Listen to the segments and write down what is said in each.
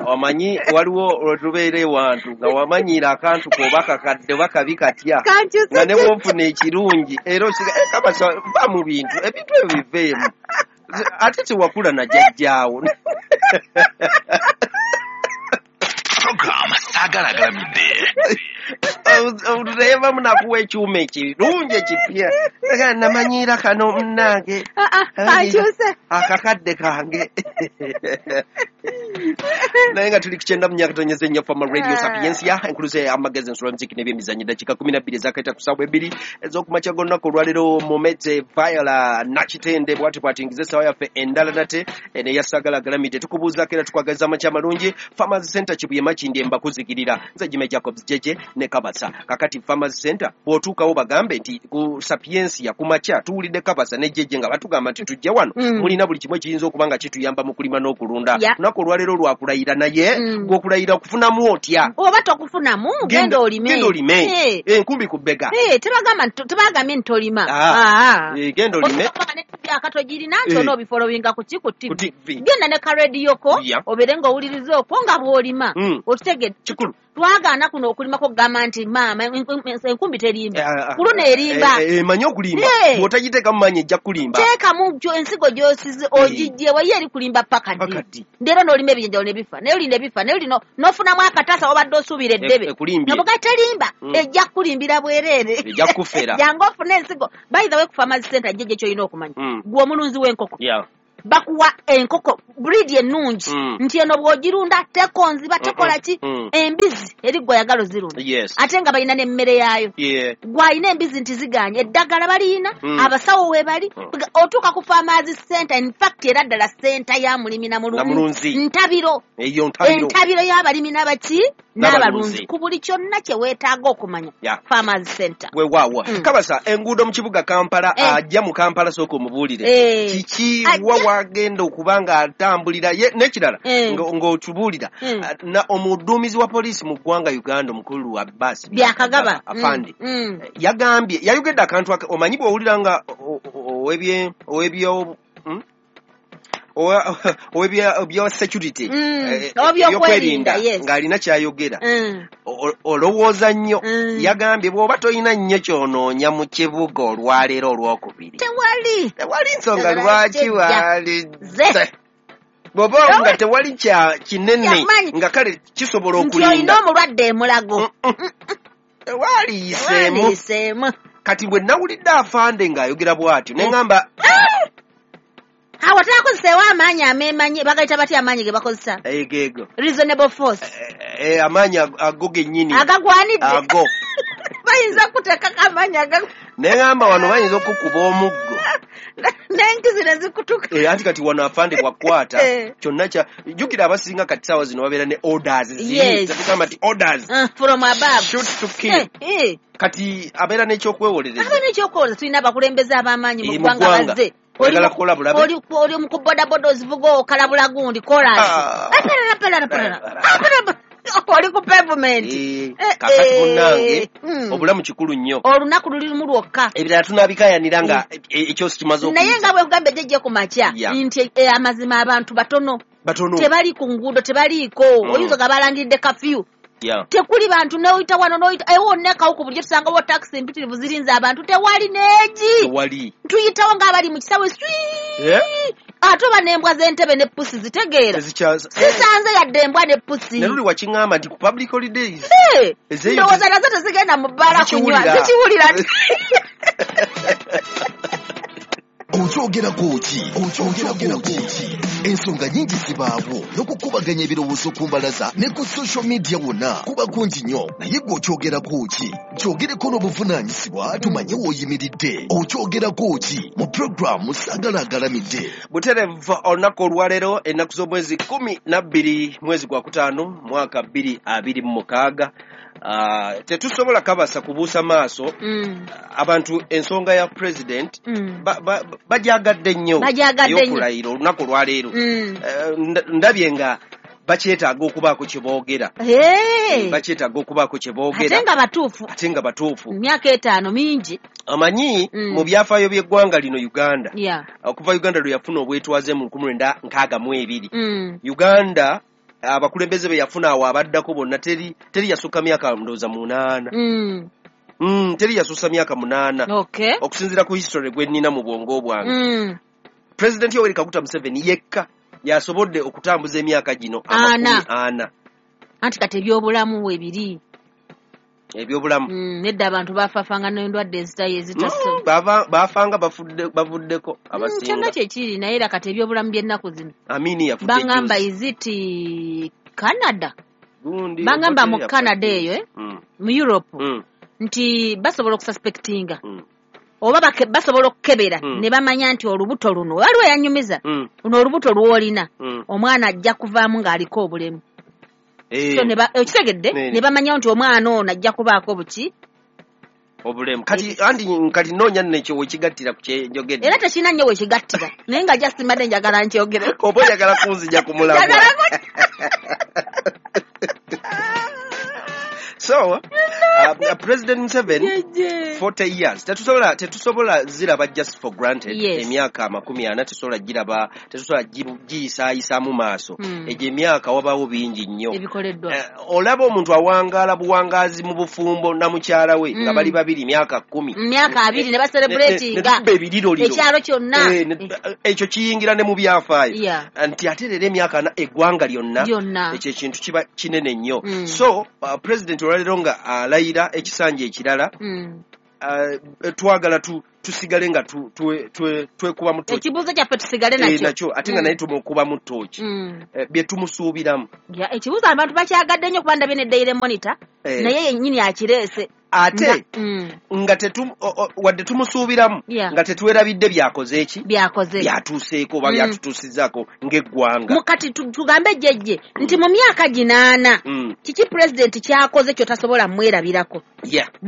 Omanyi waliwo lwetubeera ewantu nga wamanyiira akantu koba kakadde oba kabi katya, nga ne bwofuna ekirungi era osiga kabasa va mu bintu, ebintu ebyo biveemu, ate tewakula na jjajjaawo. Program Saagala Agalamidde. Otuteevamu nakuwa ekyuma ekirungi ekipya, namanyiira kano munnange, akakadde kange. Naye nga tuli ku 94.4 Fama Radio Sapiensia, enkuluze amagezi, ensolo, muziki n'ebyemizannyo. Dakiika 12 ezakaita ku ssaawa 2 ez'okumakya g'olunaku olwaleero. Momete Viola Nakitende bwati bwatingiza essaawa yaffe endala nate neya Saagala Agalamidde. Tukubuuzaako era tukwagaliza amakya amalungi. Farmers Center, Kibuye, Makindye, mbakuzigirira nze Jime Jacobs Jeje ne Kabasa. Kakati Farmers Center bw'otuukawo bagambe nti ku Sapiensia ku makya tuwulidde Kabasa ne Jeje nga batugamba nti tujje wano, mulina buli kimu ekiyinza okuba nga kituyamba mu kulima n'okulunda. Lunaku olwaleero lwakulayira, naye gwokulayira okufunamu otya? Oba tokufunamu, genda olime. Genda olime, enkumbi ku bbega. Tebagambye nti tolima. Genda olime. Akatogirina nti onoobifolowinga ku ki, ku TV. Genda ne karediyoko obeere ng'owuliriza okwo nga bw'olima. Okitegedde? Kikulu. Twagaana kuno okulimako kugamba nti maama enkumbi terimba, kuluno erimba. Emanyi okulimba, bw'otagiteekamu maanyi ejja kulimba. Teekamu ensigo gy'osize ogigye wayo, eri kulimba paka ddi? Leero n'olima ebijjanjalo ne bifa, naye oli ne bifa, naye oli n'ofunamu akataasa wabadde osuubira eddebe. Nobuga terimba, ejja kukulimbira bwereere. Ejja kufera. Jangu ofune ensigo. By the way, ku Farmers Center jjejje ky'olina okumanya, gwe omulunzi w'enkoko, bakuwa enkoko breed ennungi nti eno bw'ogirunda tekonziba, tekola ki. Embizi eri gwe oyagala ozirunda, ate nga balina n'emmere yaayo. Gw'alina embizi nti ziganye, eddagala baliyina, abasawo we bali. Otuuka ku Farmers Center, in fact era ddala center ya mulimi na mulunzi, ntabiro, entabiro y'abalimi n'abaki n'abalunzi ku buli kyonna kye weetaaga okumanya. Farmers Center. Weewaawo. Kabasa, enguudo mu kibuga Kampala, ajja mu Kampala sooka omubuulire kiki wa wagenda okuba nga atambulira n'ekirala ng'otubuulira omuduumizi wa poliisi mu ggwanga Uganda, omukulu Abbas Byakagaba afande, yagambye, yayogedde akantu, omanyi bw'owulira nga ow'ebyo ow'ebya security, ebyokwerinda, ng'alina kyayogera, olowooza nnyo. Yagambye bw'oba tolina nnyo kyonoonya mu kibuga olwaleero olwokubiri, tewali tewali nsonga lwaki walizze bw'oba nga tewali kya kinene nga kale kisobola okulinda olina omulwadde emulago. Tewaliyiseemu. Kati bwe nawulidde afande ng'ayogera bw'atyo ne ŋŋamba awo terakozeseewo amaanyi ameemanyi, bagayita batya amaanyi ge bakozesa? Egeego reasonable force. Amaanyi ago gennyini agagwanidde ago. Bayinza kuteekako amaanyi aga Ne ŋŋamba wano bayinza okukuba omuggo n'enkizi ne zikutuka. Anti kati wano afande bwakwata kyonna kya jjukira abasinga kati saawa zino babeera ne orders ziri tetugamba nti orders from above, shoot to kill. Kati abeera n'ekyokwewolereza. Abeera n'ekyokwewolereza. Tulina abakulembeze ab'amaanyi mu ggwanga bazze. Oli mu kubodaboda ozivuga okalabula gundi kolansi oli ku pavement. Kakati munnange, obulamu kikulu nnyo. Olunaku luli lumu lwokka. Ebirala tunaabikayanira nga ekyosi kimaze. Naye nga bwe kugambye jjejje ku makya nti amazima abantu batono, tebali ku nguudo, tebaliiko. Oyinza nga balangiridde kafyu, tekuli bantu, noyita wano noyita ewonna ekawuku bulijjo tusangawo takisi mpitirivu zirinze abantu, tewali neegi. Tuyitawo ng'abali mu kisawe swi, ate oba n'embwa z'entebe ne pusi zitegeera, sisanze yadde embwa ne pusi. Ne luli wakiŋŋamba nti ku public holidays ndowooza nazo tezigenda mu bbaala kunywa, zikiwulira. Okyogerako ki? Okyogerako ki? Ensonga nyingi zibaawo n'okukubaganya ebirowoozo ku mbalaza ne ku social media wonna kuba kungi nnyo, naye gwe okyogerako ki? Kyogereko n'obuvunaanyizibwa tumanye w'oyimiridde. Okyogerako ki mu puroguramu Saagala Agalamidde. Buterevu olunaku olwaleero, ennaku z'omwezi 12 mwezi gwa 5 mwaka 2026, tetusobola kabasa kubuusa maaso. Abantu ensonga ya president bajagadde nnyo ey'okulayira olunaku olwaleero. Ndabye nga bakyetaaga okubaako kye boogera, bakyetaaga okubaako kye boogera. Ate nga batuufu. Ate nga batuufu. Emyaka 5 mingi. Amanyi mu byafaayo by'eggwanga lino Uganda, okuva Uganda lwe yafuna obwetwaze mu 1962, Uganda Abakulembeze be yafuna awo abaddako bonna teri yasukka myaka ndowooza 8. Teri yasussa myaka 8. Okusinziira ku history gwe nnina mu bwongo bwange. President Yoweri Kaguta Museveni yekka yasobodde okutambuza emyaka gino 40. Anti kati ebyobulamu webiri. Ebyobulamu. Nedda abantu bafaafanga n'endwadde ezitaso. Baafanga bavuddeko abasinga. Kyonna kyekiri, naye era kati ebyobulamu by'ennaku zino. Amini yafudde. Bangamba is it Canada? Bangamba mu Canada eyo, mu Europe. Nti basobola okususpectinga. Oba basobola okukebera ne bamanya nti olubuto luno waliwo yanyumiza luno olubuto lw'olina omwana ajja kuvaamu ng'aliko obulemu. So okitegedde ne bamanya nti omwana ono ajja kubaako buki obulemu. Kati andi kati noonya nno ekyo wekigattira ku kyenjogedde. Era tekirina nnyo wekigattira, naye nga just mbadde njagala nkyogere. Oba oyagala kunzija ku mulamwa. So, President Museveni, 40 years. Tetusobola ziraba just for granted. Emyaka 40 tetusobola giraba, tetusobola giyisaayisa mu maaso. Egyo emyaka wabaawo bingi nnyo. Ebikoleddwa. Olaba omuntu awangaala buwangaazi mu bufumbo na mukyala we nga bali babiri myaka 10. Myaka 2 ne bacelebratinga. Ekyalo kyonna. Ekyo kiyingira ne mu byafaayo. Nti ate leero emyaka 4 eggwanga lyonna. Ekyo ekintu kiba kinene nnyo. So, President olwaleero nga alayira ekisanja ekirala, twagala tusigale nga twekubamu ttooki. Ekibuuzo kyaffe tusigale nakyo. Ate nga naye tumukubamu ttooki. Bye tumusuubiramu. Ekibuuzo abantu bakyagadde nnyo kuba ndabye ne Daily Monitor, naye yennyini akireese. Ate nga wadde tumusuubiramu nga tetwerabidde byakoze eki? Byakoze. Byatuuseeko oba byatutuusizzaako ng'eggwanga. Kati tugambe jjejje nti mu myaka ginaana kiki pulezidenti kyakoze ky'otasobola mwerabirako?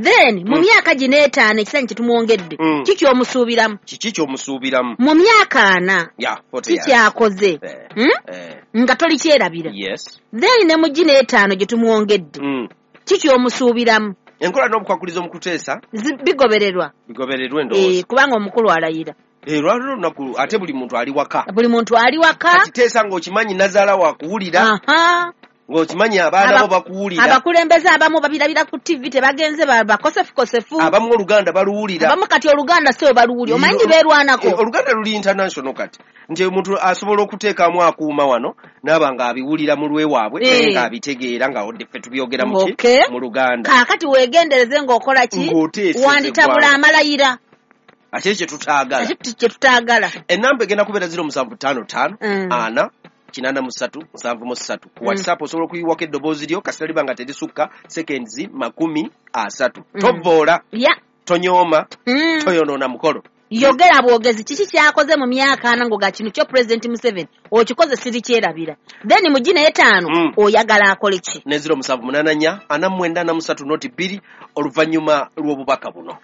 Then mu myaka gino 5 ekisanja kye tumwongedde kiki omusuubiramu? Kiki ky'omusuubiramu? Mu myaka 4 kiki kyakoze nga tolikyerabira? Then ne mu gino 5 gye tumwongedde kiki omusuubiramu? Enkola n'obukwakulizo mu kuteesa bigobererwa. Bigobererwa endowooza. Kubanga omukulu alayira. Lwaliro olunaku ate buli muntu ali waka. Buli muntu ali waka. Kati teesa ng'okimanyi nazaala wakuwulira. Ng'okimanyi abaana bo bakuwulira. Abakulembeze abamu babirabira ku TV tebagenze bakosefukosefu. Abamu Oluganda baluwulira. Abamu kati Oluganda si baluwulira. Omanyi beerwanako. Oluganda luli international kati. Nti omuntu asobola okuteekamu akuuma wano n'aba ng'abiwulira mu lwewaabwe naye ng'abitegeera nga odde ffe tubyogera mu ki? Mu Luganda. Kaakati weegendereze ng'okola ki? Wanditabula amalayira. Ate kye tutaagala. Ate kye tutaagala. Ennamba egenda kubeera 0755 4 83 73. Ku WhatsApp osobola okuyiwako eddoboozi lyo kasita liba nga terisukka seconds 30. Tovvoola. Tonyooma. Toyonoona mukolo. Yogera bwogezi kiki kyakoze mu myaka 4 ngoga kino kyo President Museveni okikoze siri kyerabira. Then mu gino 5 oyagala akole ki? Ne 0784 49 43 oluvannyuma lw'obubaka buno.